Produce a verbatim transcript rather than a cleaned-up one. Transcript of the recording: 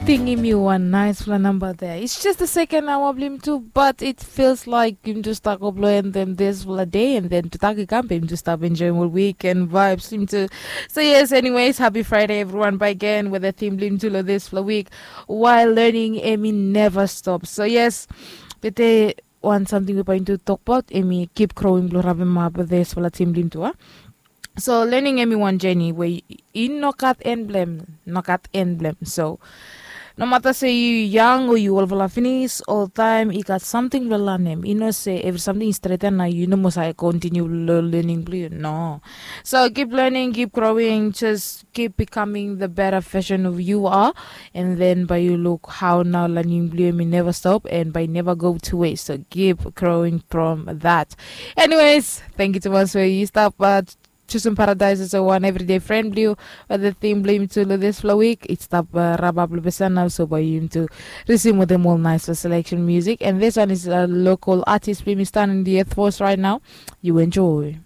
Tingim yu wan naispela namba there. It's just the second hour blim tu, but it feels like yum tu start go blow and then this vla day and then tutak i kam bim tu start enjoying all weekend vibes blim tu. So yes, anyways, happy Friday everyone by again with the theme blim tu lo this vla week, while learning emi never stop. So yes, bete wan samting we baintu tok about emi keep growing blo rabem up this vla theme blim tu, a? So learning emi wan journey we i no gat en blem, no gat en blem. So no mata se yu yang o yu olfala finis, oltaim i gat samting blo lanem. I no se evri samting i streten na yu no mos ai kontiniu lo learning blo yu, no. So keep learning, keep growing, just keep becoming the better version of you are, and then by you look how now learning blo emi never stop and by never go to waste. So keep growing from that. Anyways, thank you too much for you stop, but Choosing Paradise is a one everyday friend blue, but the theme blame to this flow week. It's stop uh, rabab lubesana, so by him to resume with them all nice selection music. And this one is a local artist blame stand in the earth force right now. You enjoy.